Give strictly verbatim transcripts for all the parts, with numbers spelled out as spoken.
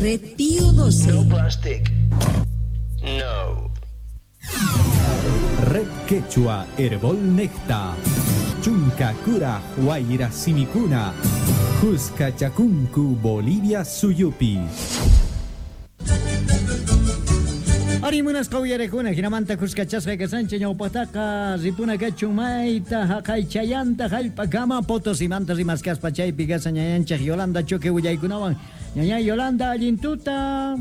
Red Pío doce. No plastic. No. Red Quechua Herbol Necta. Chunka Kura Huayra Simikuna. Cusca Chacuncu Bolivia Suyupi. Arimunas qawyarekuna hinamanta kuskachasqa kasancha ñawpaqtaqa ripuna kachun mayta haqay chayanta hallp'akama Potosimanta rimaskaspa chaypi kasa ñañanchik Yolanda Choque willaykunawan. Ñañay Yolanda, allin tuta.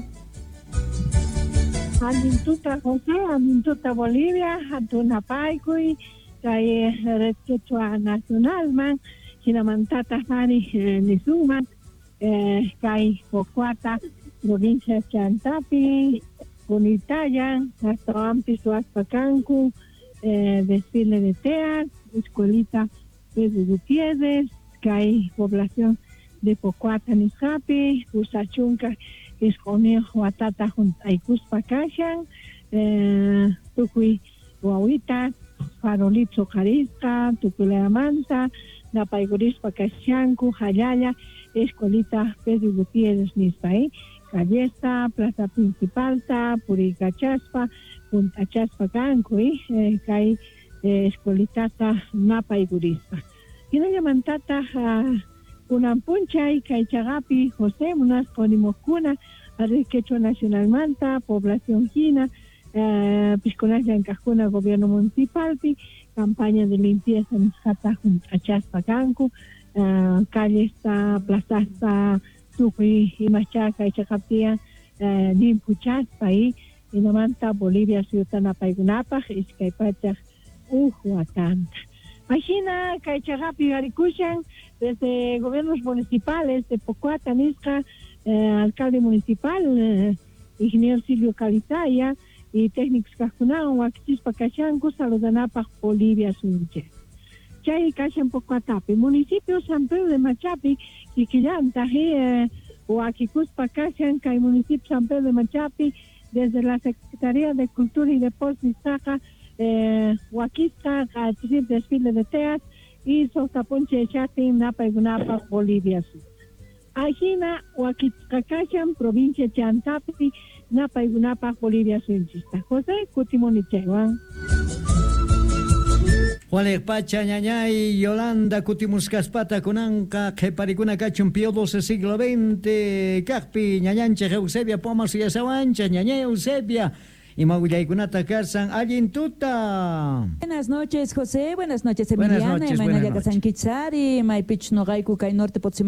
Allin tuta José, allin tuta Bolivia, hatunapaykuy kay Red Quechua Nacionalman hinamantata hari nisuman kay Pocoata provincia Chantapi Kunitayan, astawanpis ruwaspa kanku, eh, desfile de teas, escuelita Pedro Gutiérrez, kay población de Pocoata nisqapi, pusachunka isquniyuq watata junt'aykuspa kashan, eh, tukuy wawita, farolito qarisqa, tukuylamanta, napaykurispa kashanku, hallalla, escuelita Pedro Gutiérrez nispa, eh? Callesta, plaza principalta, puriykachaspa, punt'achaspa kanku, eh, kay eh, escuelitata napaykurispa. Hinallamantataq kunan p'unchay kay chaqapi José munasqa nimuqkuna Red Quechua Nacionalmanta, población hina, eh, piskunas llank'aqkuna gobierno municipalpi, campaña de limpieza nisqata hunt'achaspa kanku, eh, callesta, plazasta, tukuy imacha kay chaqaptiyan eh, limpuchaspa y hinamanta Bolivia suyuta napaykunapaq iskay pachaq uj watanta. Ajina kay chaqapi yuyarikushan desde gobiernos municipales de Pocoata nisqa, eh, alcalde municipal, eh, ingeniero Silvio Calizaya y técnicos kaqkunawan wakichispa kashanku saludanapaq Bolivia suyunchik. Chay kashan Pocoatapi, municipio San Pedro de Machapi, kikillantaq eh, wakikuspa kashan kay municipio San Pedro de Machapi, desde la Secretaría de Cultura y Deportes nisqaqa, eh, wakisqa q'achirip desfile de teas y suqta p'unchay chaqtin napaykunapaq Bolivia Sur. Ajina wakichisqa kashan provincia Chantapi napaykunapaq Bolivia suyunchista. José, kutimuni chaywan. Juanek pacha ñañay Yolanda kutimuskaspata kunanqa qhiparikuna kachun Pío doce siglo veinte kaqpi ñañanchik Eusebia Pomas yasawanchik ñañay Eusebia ima willaykunata kasan allin tuta. Buenas noches, José, buenas noches, Buenas Emiliana, noches, imaynalla buenas noches. kasankichari, maypichus nuqayku kay norte Potosí